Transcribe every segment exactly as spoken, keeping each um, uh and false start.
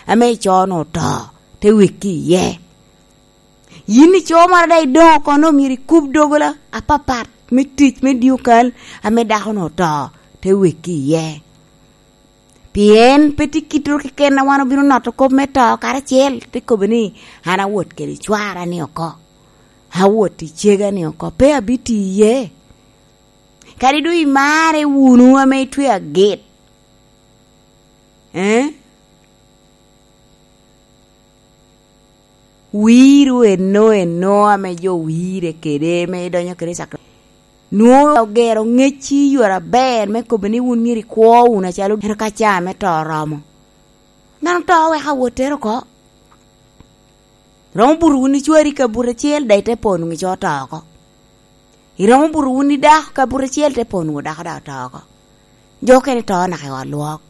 ame ico-nu oto, te wekki iye. Yin ico moro daŋ idoŋ oko, nwoŋo myero ikub dogola apapat me tic me dyekal ame dako-nu oto, te wekki iye. Pien pe tye kite keken a wan obino noto kop me to karacel, te kobo ni, "An awot kede cwara-ni oko, awot i cega-ni oko, pe abitiye." Kadi doŋ imarre wunu ame itwe agit, eh? Wiro eno eno ame jo wire kede, me idonyo kede i sakra-, nwoŋo ogero ŋecci i yore aber me kobo ni wun myero ikwo wunu acalo ento ka caa me to oromo. Dano to weko awottere oko. Romo buto wunu i cwari ka buto acel, daŋ ite po nwoŋo ico oto oko. Iromo buto wunu i dako ka buto acel, ite po nwoŋo dako daŋ oto oko. Jo okene to naka i ot lwok.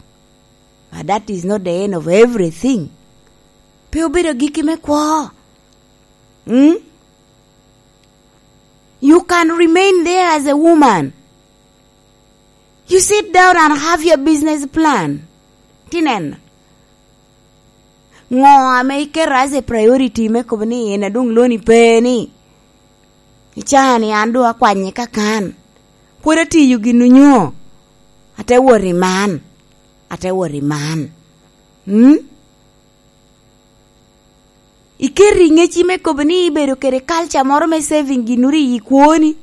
But that is not the end of everything. Pe obedo agikki me kwo. Mm? You can remain there as a woman. You sit down and have your business plan. Tineno. Ŋo ame iketo as a priority me kobo ni en adoŋ loni pe ni? Icaa ni an doŋ akwanye kakan. Pwod atiyo gin onyo. Ate wot i man. Ate wot i man. Mm? Iketo i ŋecci me kobo ni ibedo kede culture moro me saving ginuru i kwoni.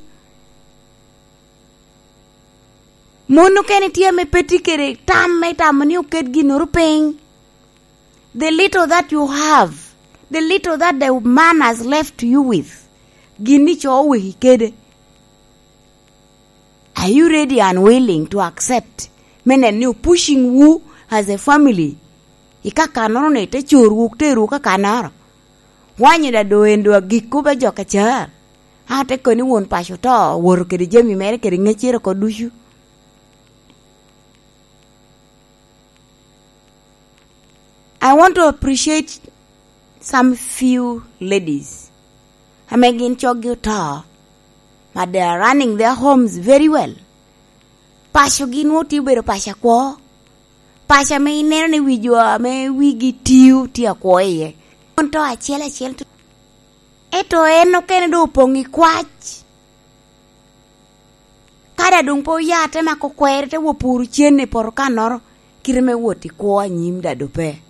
Mon okene tye ame pe tye kede tam me tamo ni oket ginuru piny. The little that you have, the little that the man has left you with, gin ni co oweki kede. Are you ready and willing to accept me neno ni o pushing wu as a family? I kakannoro ni te corwu, terowu kakannoro. Wanyo da do en do agikku be jo kacar. A te kono ni won paco to, owoto kede jami mere kede ŋeccere oko ducu. I want to appreciate some few ladies ame gin coggi oto, but they are running their homes very well. Pacogi nwoŋo tye obedo paco akwo. Paco ame ineno ni wi jo ame wigi tio tye akwo iye. Mon to acel acel to. Ento en okene doŋ opoŋ i kwac. Kadi a doŋ pe oya te mako kwere, te wo puro cen i poto kannoro, kite me wot i kwo anyim dado pe.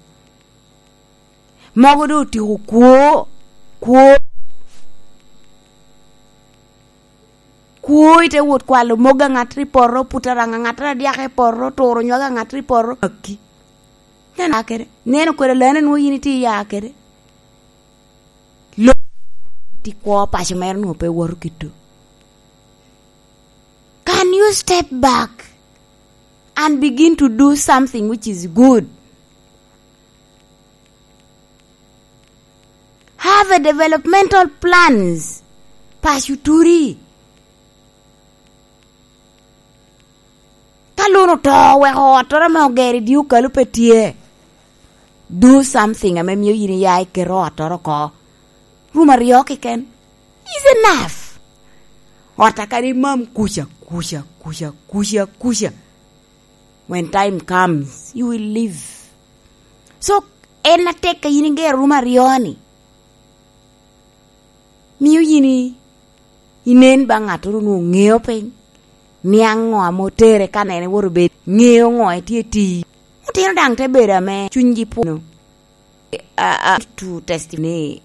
Mogo doŋ otyeko kwo, kwo, kwo ite wot kwalo mogo aŋattoro i poto, puto araŋ aŋattoro adyaka i poto, turo nywag aŋattoro i poto. Aki. Neno kede, neno kede lane nwoŋo yin itye iya kede. Lo-, ti kwo paco mere nwoŋo pe woto kito. Can you step back and begin to do something which is good? Have a developmental plans. Paco turi. Ka lon oto, weko ottoro ame ogero i dye okalu pe tye, do something ame mio yin iya iketo ottoro oko. Rum aryo keken is enough. Ot a kadi imam kuca, kuca, kuca, kuca, kuca. When time comes, you will leave. So, en atek ka yin igero rum aryo-ni. Mio yin i-, inen ba ŋattoro onwoŋo ŋeo piny, niaŋ ŋo ame otere ka en ewoto bedo, ŋeo ŋo etye tii. Otino daŋ te bedo ame cunygi pwono. A, a, to testify ni,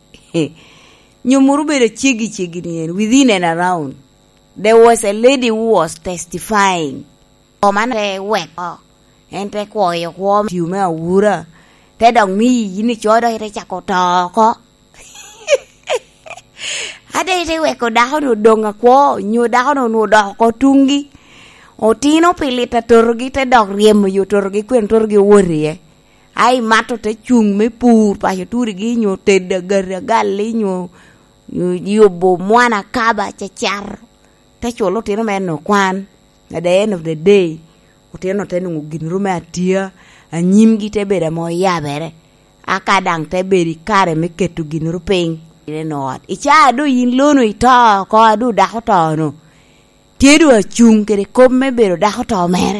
nyomoro obedo ceggi ceggi ni en, within and around. There was a lady who was testifying. Koma te weko, en te kwoyo kwo tio me awura, te dok miyi yin ico dok ite cako to oko. Ate ite weko dako-nu odoŋ akwo, nyo dako-nu onwoŋo odoko oko tuŋgi. Otino pi lit atotogi, te dok ryemo yo totogi, kwene totogi owot iye. A imato te cuŋ me pur, paco turigi, nyo tedo agati agalli, nyo, nyo yubo mwana kaba, cacar. Te culo otino mere ni okwan. At the end of the day, otino te nwoŋo gin ru me atia, anyimgi te bedo ame oyabere, aka daŋ te bedo i kare me keto gin ru piny i neno ot. I caa doŋ yin lono ito oko, a doŋ dako to-nu, tye doŋ acuŋ kede kop me bedo dako to mere.